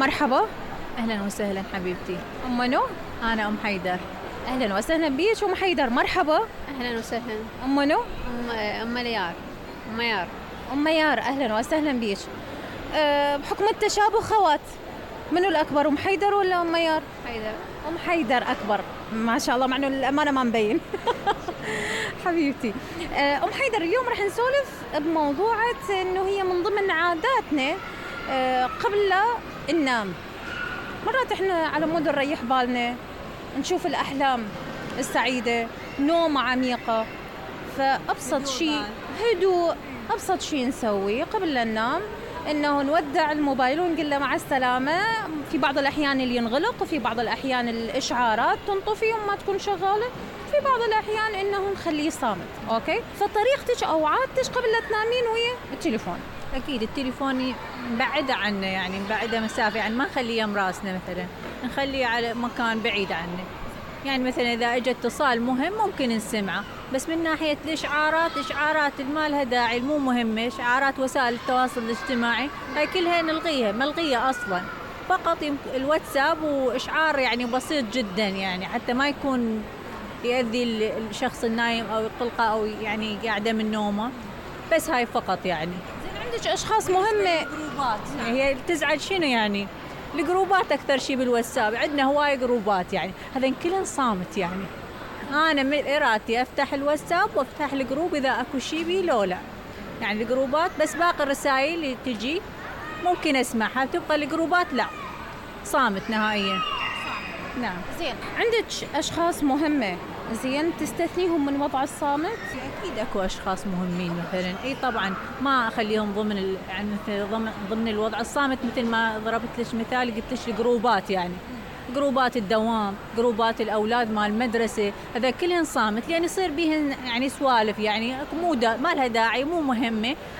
مرحبا. أهلا وسهلا حبيبتي. أم منو؟ أنا أم حيدر. أهلا وسهلا بيك أم حيدر، مرحبا. أهلا وسهلا. أم منو؟ أم مليار. أم ميار. أم ميار، أهلا وسهلا بيك. بحكم التشابه خوات، منو الأكبر، أم حيدر ولا أم ميار؟ حيدر. أم حيدر أكبر ما شاء الله، مع إنه الأمانة ما مبين. حبيبتي. أم حيدر، اليوم رح نسولف بموضوعة إنه هي من ضمن عاداتنا قبل لا ننام. مرات إحنا على مود نريح بالنا، نشوف الأحلام السعيدة، نومة عميقة، فأبسط شيء هدوء. أبسط شيء نسويه قبل لا ننام إنه نودع الموبايل ونقول له مع السلامة. في بعض الأحيان اللي ينغلق، وفي بعض الأحيان الإشعارات تنطفي وما تكون شغالة، في بعض الأحيان إنه نخليه صامت. أوكي، فطريقتك أو عادتك قبل لا تنامين ويا التليفون؟ أكيد التليفون نبعده عنه، يعني نبعده مسافة، يعني ما نخليه يم راسنا، مثلا نخليه على مكان بعيد عنه. يعني مثلا إذا اجى اتصال مهم ممكن نسمعه، بس من ناحية الإشعارات ما لها داعي، مو مهمة. إشعارات وسائل التواصل الاجتماعي هاي كلها نلغيها، ملغية أصلا. فقط الواتساب وإشعار يعني بسيط جدا، يعني حتى ما يكون يؤذي الشخص النايم أو يقلقه أو يعني قاعدة من نومه، بس هاي فقط. يعني عندك أشخاص مهمة جروبات، هي تزعل شنو يعني؟ الجروبات أكثر شيء بالواتساب، عندنا هواي جروبات، يعني هذين كلهم صامت. يعني أنا من إرادتي أفتح الواتساب وأفتح الجروب إذا أكو شيء بي، لو لا يعني الجروبات بس. باقي الرسائل اللي تجي ممكن أسمعها، تبقى الجروبات لا، صامت نهائيا. نعم. زين، عندك أشخاص مهمة زين تستثنيهم من وضع الصامت؟ أكيد أكو أشخاص مهمين مثلا، إي طبعا ما أخليهم ضمن يعني ضمن الوضع الصامت. مثل ما ضربت لك مثال، قلت لك الجروبات، يعني جروبات الدوام، جروبات الأولاد مال المدرسة، هذا كلهن صامت، لأن يصير بيهن يعني سوالف، يعني ما لها داعي، مو مهمة.